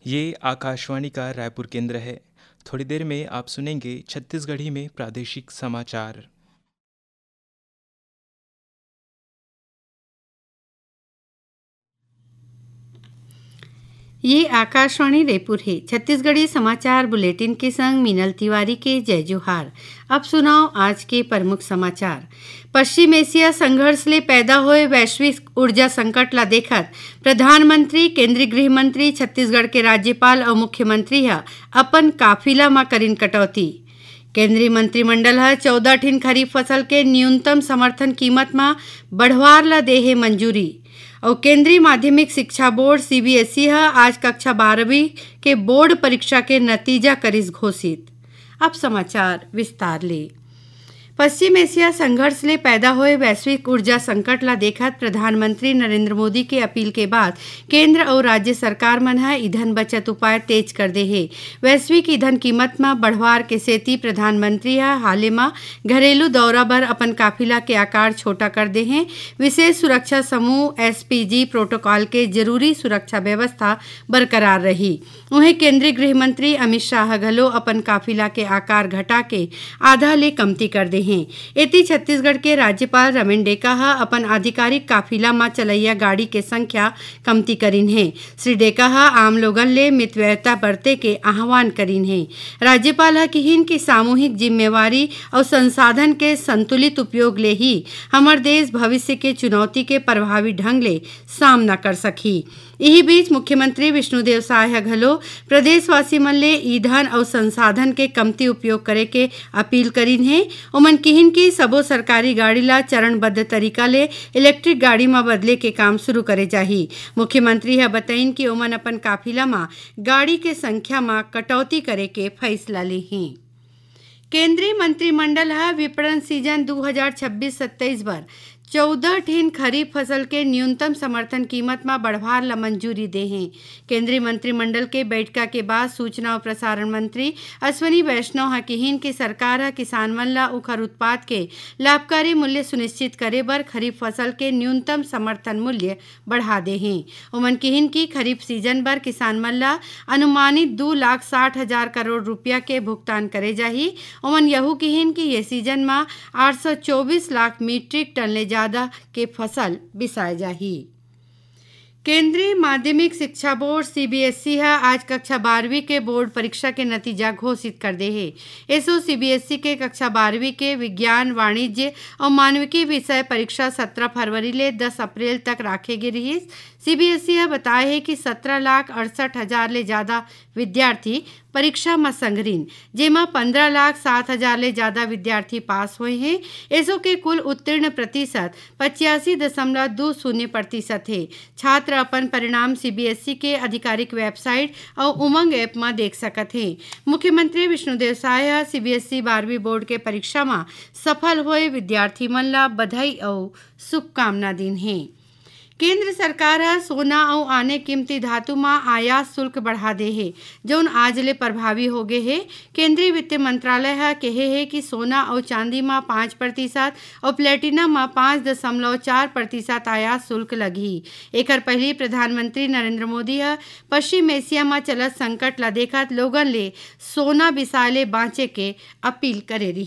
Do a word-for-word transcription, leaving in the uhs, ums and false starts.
ये आकाशवाणी का रायपुर केंद्र है। थोड़ी देर में आप सुनेंगे छत्तीसगढ़ी में प्रादेशिक समाचार। ये आकाशवाणी रायपुर हे। छत्तीसगढ़ी समाचार बुलेटिन के संग मीनल तिवारी के जय जोहार। अब सुनव आज के प्रमुख समाचार। पश्चिम एशिया संघर्ष ले पैदा होए वैश्विक ऊर्जा संकट ला देखत प्रधानमंत्री, केंद्रीय गृह मंत्री, छत्तीसगढ़ के राज्यपाल अउ मुख्यमंत्री ह अपन काफिला म करिन कटौती। केंद्रीय मंत्रिमंडल ह चौदह ठिन खरीफ फसल के न्यूनतम समर्थन कीमत म बढ़वार ला दे हे मंजूरी। अउ केंद्रीय माध्यमिक शिक्षा बोर्ड, सीबीएसई, ह आज कक्षा बारहवीं के बोर्ड परीक्षा के नतीजा करिस घोषित। अब समाचार विस्तार ले। पश्चिम एशिया संघर्ष ले पैदा होए वैश्विक ऊर्जा संकट ला देखत प्रधानमंत्री नरेंद्र मोदी के अपील के बाद केंद्र अउ राज्य सरकार मन ह ईंधन बचत उपाय तेज कर दे हे। वैश्विक ईंधन कीमत म बढ़वार के सेती प्रधानमंत्री ह हाले म घरेलू दौरा बर अपन काफिला के आकार छोटा कर दे हे। विशेष सुरक्षा समूह, एसपीजी, प्रोटोकॉल के जरूरी सुरक्षा व्यवस्था बरकरार रही। उहें, केंद्रीय गृह मंत्री अमित शाह घलो अपन काफिला के आकार घटा के आधा ले कमती कर दे हें। एती, छत्तीसगढ़ के राज्यपाल रमेन डेका ह अपन आधिकारिक काफिला म चलइया गाड़ी के संख्या कमती करिन हे। श्री डेका ह आम लोगन ले मितव्ययता बरते के आह्वान करिन हे। राज्यपाल ह किहिन कि सामूहिक जिम्मेवारी अउ संसाधन के संतुलित उपयोग ले ही हमर देश भविष्य के चुनौती के प्रभावी ढंग ले सामना कर सकही। इही बीच मुख्यमंत्री विष्णुदेव साय ह घलो प्रदेशवासी मन ले ईंधन अउ संसाधन के कमती उपयोग करे के अपील करिन हे। ओमन किहिन कि सबो सरकारी गाड़ी ला चरणबद्ध तरीका ले इलेक्ट्रिक गाड़ी म बदले के काम शुरू करे जाही। मुख्यमंत्री ह बतइन कि ओमन अपन काफिला म गाड़ी के संख्या म कटौती करे के फैसला लेही। केंद्रीय मंत्रिमंडल ह विपणन सीजन दू हजार छब्बीस सत्ताईस बर चौदह ठिन खरीफ फसल के न्यूनतम समर्थन कीमत म बढ़वार ल मंजूरी दे हे। केंद्रीय मंत्रिमंडल के बैठका के बाद सूचना अउ प्रसारण मंत्री अश्विनी वैष्णव ह किहिन कि सरकार ह किसान मन ल उखर उत्पाद के लाभकारी मूल्य सुनिश्चित करे बर खरीफ फसल के न्यूनतम समर्थन मूल्य बढ़ा दे हे। ओमन किहिन कि खरीफ सीजन बर किसान मन ल अनुमानित दू लाख साठ हजार करोड़ रुपया के भुगतान करे जाही। ओमन यहू किहिन कि ये सीजन म आठ सौ चौबीस लाख मीट्रिक टन ले जादा के फसल बिसाए जाही। केंद्रीय माध्यमिक शिक्षा बोर्ड, सीबीएसई, ह आज कक्षा बारहवीं के बोर्ड परीक्षा के नतीजा घोषित कर दे हे। एसो सीबीएसई के कक्षा बारहवीं के विज्ञान, वाणिज्य अउ मानविकी विषय परीक्षा सत्रह फरवरी ले दस अप्रैल तक राखे गे रिहिस। सीबीएसई ह बताय हे कि सत्रह लाख अड़सठ हजार ले जादा विद्यार्थी परीक्षा म संघरिन, जेमा पंद्रह लाख सात हजार ले जादा विद्यार्थी पास होए हे। एसो के कुल उत्तीर्ण प्रतिशत पचासी दशमलव दू शून्य प्रतिशत हे। छात्र अपन परिणाम सीबीएसई के आधिकारिक वेबसाइट अउ उमंग ऐप म देख सकत हे। मुख्यमंत्री विष्णुदेव साय ह सीबीएसई बारहवीं बोर्ड के परीक्षा म सफल होए विद्यार्थी मन ल बधाई अउ शुभकामना दीन हे। केंद्र सरकार ह सोना अउ आने कीमती धातु म आयात शुल्क बढ़ा दे हे, जउन आज ले प्रभावी हो गे हे। केंद्रीय वित्त मंत्रालय ह केहे हे कि सोना अउ चांदी म पाँच प्रतिशत अउ प्लेटिनम म पाँच दशमलव चार प्रतिशत आयात शुल्क लगही। एखर पहिली प्रधानमंत्री नरेंद्र मोदी ह पश्चिम एशिया म चलत संकट ल देखत लोगन ले सोना बिसाए ले बांचे के अपील करे रिहिस।